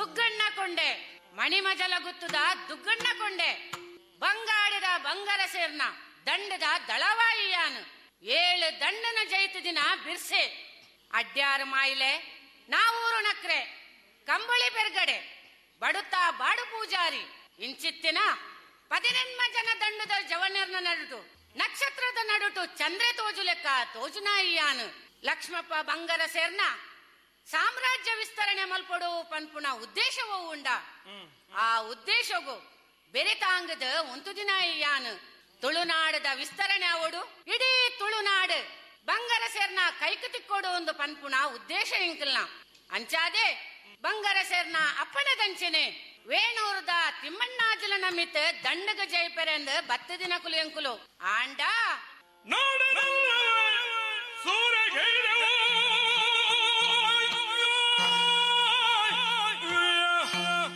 ದುಗ್ಗಣ್ಣ ಕೊಂಡೆ, ಮಣಿಮಜಲ ಗುತ್ತದ ದುಗ್ಗಣ್ಣ ಕೊಂಡೆ, ಬಂಗಾಡಿದ ಬಂಗರ ಸೇರ್ನ ದಂಡದ ದಳವಾಯಿಯಾನು, 7 ದಂಡನ ಜೈತು ದಿನ ಬಿರ್ಸೆ, ಅಡ್ಯಾರು ಮಾಯಿಲೆ, ನಾವೂರು ನಕ್ರೆ, ಕಂಬಳಿ ಪೆರ್ಗಡೆ, ಬಡುತ್ತಾ ಬಾಡು ಪೂಜಾರಿ, ಇಂಚಿತ್ತಿನ 18 ಜನ ದಂಡದ ಜವನರ್ನ ನಡುಟು ನಕ್ಷತ್ರದ ನಡುಟು ಚಂದ್ರೆ ತೋಜು ಲೆಕ್ಕ ತೋಜುನಾಯಿಯಾನು. ಲಕ್ಷ್ಮಪ್ಪ ಬಂಗರ ಸೇರ್ನ ಸಾಮ್ರಾಜ್ಯ ವಿಸ್ತರಣೆ ಮಲ್ಪಡು ಪನ್ಪುನ ಉದ್ದೇಶವೂ ಉಂಡ. ಆ ಉದ್ದೇಶಗು ಬೆರೆತಾಂಗದ ಒಂದು ದಿನ ಯಾನು ತುಳುನಾಡದ ವಿಸ್ತರಣೆ ಅವಡು, ಇಡೀ ತುಳುನಾಡು ಬಂಗರ ಸೇರ್ನ ಕೈಕು ತಿಕ್ಕೋಡು ಒಂದು ಪನ್ಪುನ ಉದ್ದೇಶ ಇಂಕಲ್ನ. ಅಂಚಾದೆ ಬಂಗರ ಸೇರ್ನ ಅಪ್ಪಣದಂಚನೆ ವೇಣೂರ್ದ ತಿಮ್ಮಣ್ಣಾಜಲ ನಮಿತ್ ದಂಡಗ ಜಯಪೆರೆಂದು ಬತ್ತ ದಿನ ಕುಲಿಯಂಕುಲು ಆಂಡ ಸೂರ್ಯ.